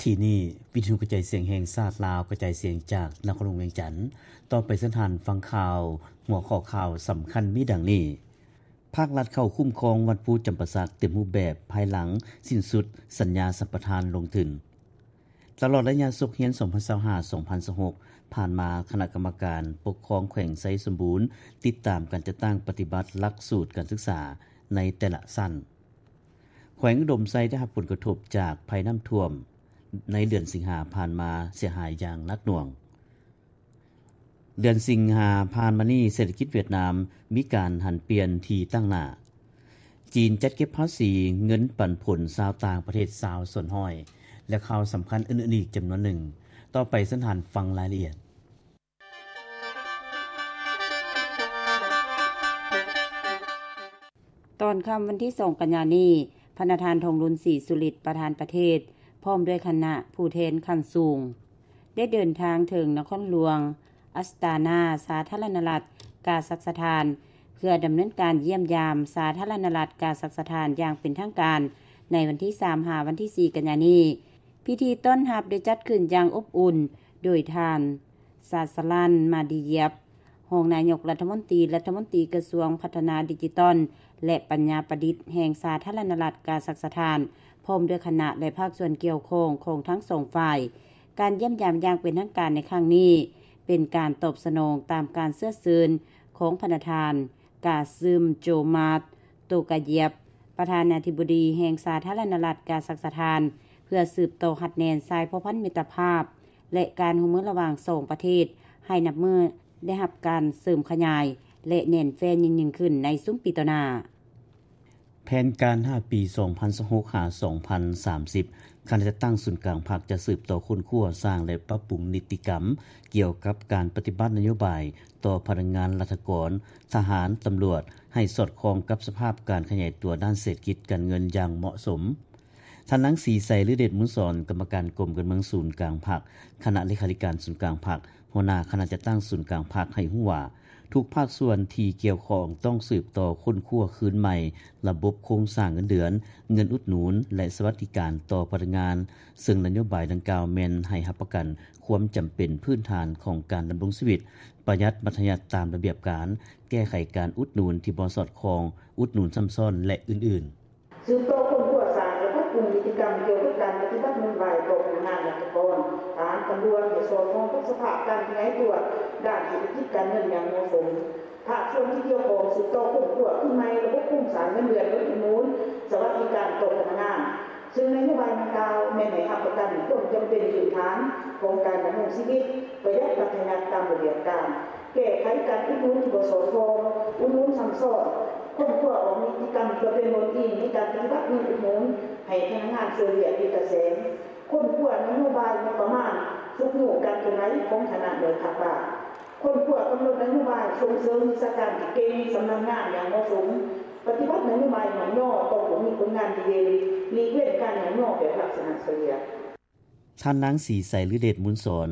ທີ່ນີ້ ວິທຍຸກະຈາຍສຽງແຫ່ງຊາດລາວ ກະຈາຍສຽງຈາກນະຄອນຫຼວງວຽງຈັນ. ຕໍ່ໄປເຊີນທ່ານຟັງຂ່າວ, ຫົວຂໍ້ຂ່າວສຳຄັນມີດັ່ງນີ້: ພາກລັດເຂົ້າຄຸ້ມຄອງວັດພູຈຳປາສັກເຕັມຮູບແບບ ພາຍຫຼັງສິ້ນສຸດສັນຍາສຳປະທານລົງທຶນ. ຕະຫຼອດໄລຍະສົກຮຽນ ສອງພັນຊາວຫ້າ ສອງພັນຊາວຫົກ ຜ່ານມາ, ຄະນະກຳມະການປົກຄອງແຂວງໄຊສົມບູນ ຕິດຕາມການຈັດຕັ້ງປະຕິບັດຫຼັກສູດການສຶກສາໃນແຕ່ລະຊັ້ນ. ແຂວງອຸດົມໄຊໄດ້ຮັບຜົນກະທົບຈາກໄພນ້ຳຖ້ວມ ໃນເດືອນສິງຫາຜ່ານມາເສຍຫາຍຢ່າງໜັກໜ່ວງ. ເດືອນສິງຫາຜ່ານມານີ້ ເສດຖະກິດຫວຽດນາມມີການຫັນປ່ຽນທີ່ຕັ້ງໜ້າ. ຈີນຈັດເກັບພາສີເງິນປັນຜົນຊາວຕ່າງປະເທດ ຊາວສ່ວນຮ້ອຍ ແລະ ຂ່າວສຳຄັນອື່ນໆອີກຈຳນວນໜຶ່ງ. ຕໍ່ໄປເຊີນທ່ານຟັງລາຍລະອຽດ. ຕອນຄ່ຳວັນທີສອງ ກັນຍານີ້, ພະນະທ່ານ ທອງລຸນ ສີສຸລິດ ປະທານປະເທດ ພ້ອມດ້ວຍຄະນະຜູ້ແທນຂັ້ນສູງ ໄດ້ເດີນທາງເຖິງນະຄອນຫຼວງອັດສະຕານາ ສາທາລະນະລັດກາຊັກສະຖານ ເພື່ອດຳເນີນການຢ້ຽມຢາມສາທາລະນະລັດກາຊັກສະຖານຢ່າງເປັນທາງການ ໃນວັນທີສາມ ຫາ ວັນທີສີ່ ກັນຍານີ້. ພິທີຕ້ອນຮັບໄດ້ຈັດຂຶ້ນຢ່າງອົບອຸ່ນ ໂດຍທ່ານ ຊາສະລັນ ມາດີຢຽບ ຮອງນາຍົກລັດຖະມົນຕີ, ລັດຖະມົນຕີກະຊວງພັດທະນາດິຈິຕອນ ແລະ ປັນຍາປະດິດ ແຫ່ງສາທາລະນະລັດກາຊັກສະຖານ ພ້ອມດ້ວຍຄະນະ ແລະ ພາກສ່ວນກ່ຽວຂ້ອງຂອງທັງສອງຝ່າຍ. ການຢ້ຽມຢາມຢ່າງເປັນທາງການໃນຄັ້ງນີ້ ເປັນການຕອບສະໜອງຕາມການເຊື້ອເຊີນຂອງພະນະທ່ານ ກາຊຶມ ໂຈມາດ ໂຕກາຢຽບ ປະທານາທິບໍດີແຫ່ງສາທາລະນະລັດກາຊັກສະຖານ ເພື່ອສືບຕໍ່ຮັດແໜ້ນສາຍພົວພັນມິດຕະພາບ ແລະ ການຮ່ວມມືລະຫວ່າງສອງປະເທດ ໃຫ້ນັບມື້ໄດ້ຮັບການເສີມຂະຫຍາຍ ແລະ ແໜ້ນແຟ້ນຍິ່ງໆຂຶ້ນໃນຊຸມປີຕໍ່ໜ້າ. ແຜນການຫ້າປີ ສອງພັນຊາວຫົກ ຫາ ສອງພັນສາມສິບ ຄະນະຈັດຕັ້ງສູນກາງພັກຈະສືບຕໍ່ຄົ້ນຄວ້າ, ສ້າງ ແລະ ປັບປຸງນິຕິກຳ ກ່ຽວກັບການປະຕິບັດນະໂຍບາຍຕໍ່ພະນັກງານລັດຖະກອນ, ທະຫານ, ຕຳຫຼວດ ໃຫ້ສອດຄ່ອງກັບສະພາບການຂະຫຍາຍຕົວດ້ານເສດຖະກິດການເງິນຢ່າງເໝາະສົມ. ທ່ານນາງ ສີໄຊ ລືເດດມູນສອນ ກຳມະການກົມການເມືອງສູນກາງພັກ, ຄະນະເລຂາທິການສູນກາງພັກ, ຫົວໜ້າຄະນະຈັດຕັ້ງສູນກາງພັກ ໃຫ້ຮູ້ວ່າ ທຸກພາກສ່ວນທີ່ກ່ຽວຂ້ອງຕ້ອງສືບຕໍ່ຄົ້ນຄວ້າຄືນໃໝ່ລະບົບໂຄງສ້າງເງິນເດືອນ, ເງິນອຸດໜູນ ແລະ ສະຫວັດດີການຕໍ່ພະນັກງານ, ເຊິ່ງນະໂຍບາຍດັ່ງກ່າວແມ່ນໃຫ້ຮັບປະກັນຄວາມຈຳເປັນພື້ນຖານຂອງການດຳລົງຊີວິດ, ປະຢັດບັດທະຍັດຕາມລະບຽບການ, ແກ້ໄຂການອຸດໜູນທີ່ບໍ່ສອດຄ່ອງ, ອຸດໜູນຊ້ຳຊ້ອນ ແລະ ອື່ນໆ. ສືບຕໍ່ຄົ້ນຄວ້າ, ສ້າງ ແລະ ປັບປຸງນິຕິກຳກ່ຽວກັບການປະຕິບັດນະໂຍບາຍຕໍ່ພະນັກງານລັດຖະກອນ, ທະຫານ, ຕຳຫຼວດ ໃຫ້ສອດຄ່ອງກັບສະພາບການຂະຫຍາຍຕົວດ້ານເສດຖະກິດການເງິນຢ່າງເໝາະສົມ. ພາກສ່ວນທີ່ກ່ຽວຂ້ອງສືບຕໍ່ຄົ້ນຄວ້າຄືນໃໝ່ລະບົບໂຄງສ້າງເງິນເດືອນ, ເງິນອຸດໜູນ, ສະຫວັດດີການຕໍ່ພະນັກງານ, ເຊິ່ງນະໂຍບາຍດັ່ງກ່າວແມ່ນໃຫ້ຮັບປະກັນຄວາມຈຳເປັນພື້ນຖານຂອງການດຳລົງຊີວິດ, ປະຢັດບັດທະຍັດຕາມລະບຽບການ, ແກ້ໄຂການອຸດໜູນທີ່ບໍ່ສອດຄ່ອງ, ອຸດໜູນຊ້ຳຊ້ອນ, ຄົ້ນຄວ້າອອກນິຕິກຳເພື່ອເປັນບ່ອນອີງໃນການປະຕິບັດເງິນອຸດໜູນໃຫ້ພະນັກງານຊ່ວຍວຽກເປັນຕາແສງ, ຄົ້ນຄວ້ານະໂຍບາຍງົບປະມານຊຸກຍູ້ການເຄື່ອນໄຫວຂອງຄະນະໜ່ວຍພັກບ້ານ, ຄົ້ນຄວ້າກຳນົດນະໂຍບາຍສົ່ງເສີມວິຊາການທີ່ເກັ່ງຊຳນານງານຢ່າງເໝາະສົມ, ປະຕິບັດນະໂຍບາຍຍ້ອງຍໍຕ້ອງບໍ່ມີຜົນງານດີເດັ່ນ, ຫຼີກເວັ້ນການຍ້ອງຍໍແບບລັກສະນະຊ່ອຍເຫຼືອ. ທ່ານນາງ ສີໄຊ ລືເດດມູນສອນ